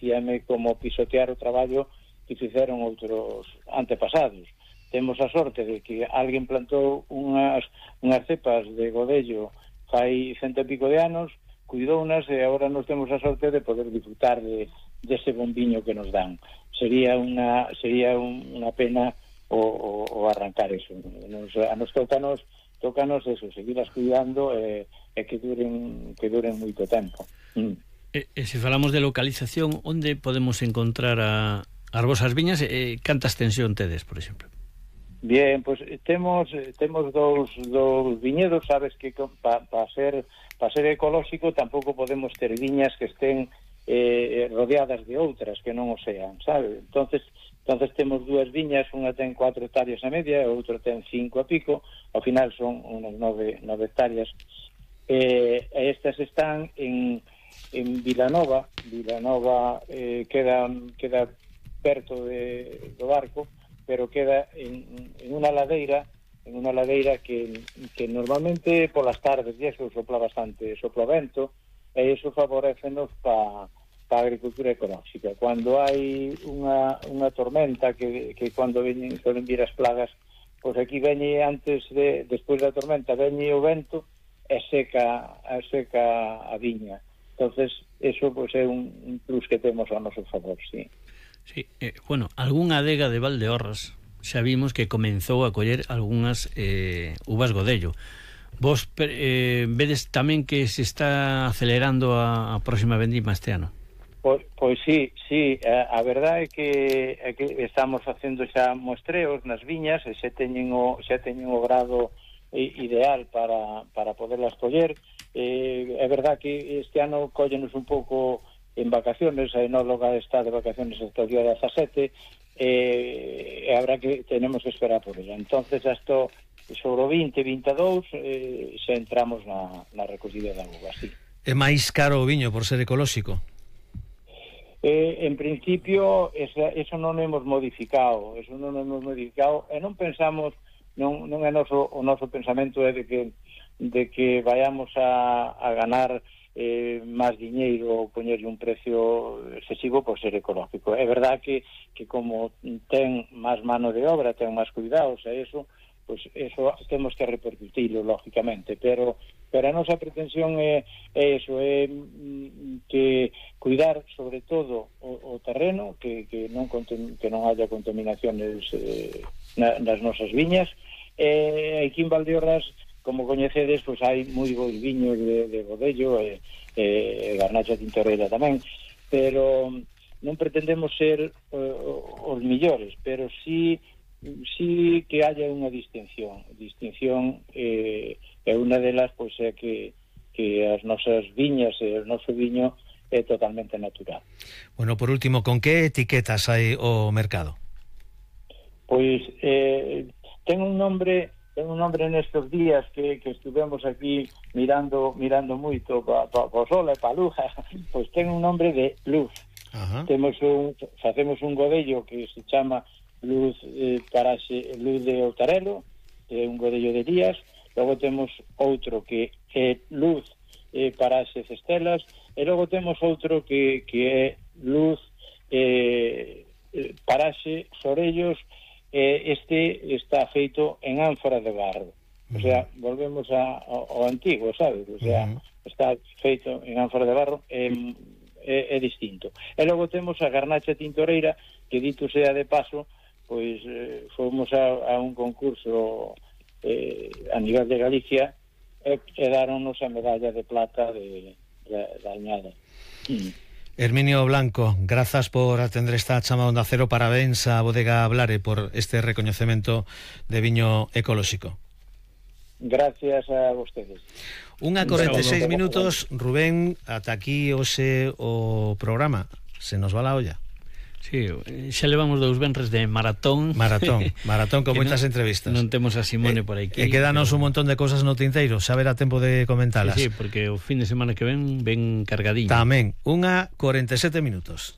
parecíame como pisotear o traballo que fixeron outros antepasados. Temos a sorte de que alguén plantou unhas cepas de godello fai 100 e pico de anos, cuidounas, e agora nos temos a sorte de poder disfrutar dese bombiño que nos dan. Sería unha pena o arrancar eso. A nos tócanos eso, seguirlas cuidando e que duren moito tempo. E se falamos de localización, onde podemos encontrar as vosas viñas e canta extensión tedes, por exemplo? Bien, pues temos dous viñedos, sabes que para ser ecolóxico tampouco podemos ter viñas que estén rodeadas de outras que non o sean, sabes? Entonces temos dúas viñas, unha ten 4 hectáreas e media e outra ten 5 e pico, ao final son unas 9 hectáreas, e estas están en Vilanova queda perto do barco, pero queda en unha ladeira que normalmente polas tardes e eso sopla vento, e iso favorecenos para a agricultura ecolóxica. Cando hai unha tormenta que cando suelen vir as plagas, pois aquí veñe despois da tormenta veñe o vento e seca a viña. Entonces eso pois é un plus que temos ao noso favor, sí. Sí, bueno, algunha adega de Valdeorras xa vimos que comenzou a coller algunhas uvas godello. Vos vedes tamén que se está acelerando a próxima vendima este ano? Pois sí, a verdade é que estamos facendo xa mostreos nas viñas e xa teñen o grado ideal para poderlas coller. É verdade que este ano collenos un pouco en vacaciones, a enóloga está de vacaciones hasta o día 17, e tenemos que esperar por ella. Entonces hasta sobre o 20-22 xa entramos na recollida da uva, sí. É máis caro o viño por ser ecolóxico? En principio eso non hemos modificado, e non pensamos, non é o noso pensamento é de que vayamos a ganar máis diñeiro ou poñerlle un precio excesivo por ser ecológico. É verdad que como ten máis mano de obra, ten máis cuidados e eso, pues eso temos que repercutilo lógicamente, pero a nosa pretensión é eso, é que cuidar sobre todo o terreno, que non haya contaminaciones nas nosas viñas. Aquí en Valdeorras, como coñecedes, pois hai moi bons viños de godello e garnacha tintoreira tamén, pero non pretendemos ser os millores, pero sí que haya unha distinción e unha delas pois é que as nosas viñas e o noso viño é totalmente natural. Bueno, por último, con que etiquetas hai o mercado? Pois ten un nombre nestes días que estuvemos aquí mirando moito pa o sol e pa luz, pois ten un nombre de luz. Facemos un godello que se chama luz luz de Outarelo, é un godello de Díaz. Logo temos outro que é luz Paraxe Cestelas, e logo temos outro que é luz Paraxe Sorellos. Este está feito en ánfora de barro, o sea, volvemos ao antigo, sabes? O sea, está feito en ánfora de barro, é distinto. E logo temos a garnacha tintoreira, que dito sea de paso, pois fomos a un concurso a nivel de Galicia e daronnos a medalla de plata da añada. Herminio Blanco, grazas por atender esta chamada Onda Cero. Parabéns a Bodega Blare por este recoñecemento de viño ecolóxico. Gracias a vostedes. 1:46 minutos, Rubén, ata aquí hoxe o programa. Se nos va la olla. Sí, xa levamos 2 venres de maratón con moitas entrevistas. Non temos a Simone por aquí. E quedanos un montón de cosas no tinteiro, xa verá tempo de comentalas. Sí, porque o fin de semana que ven cargadinho. Tamén, 1:47 minutos.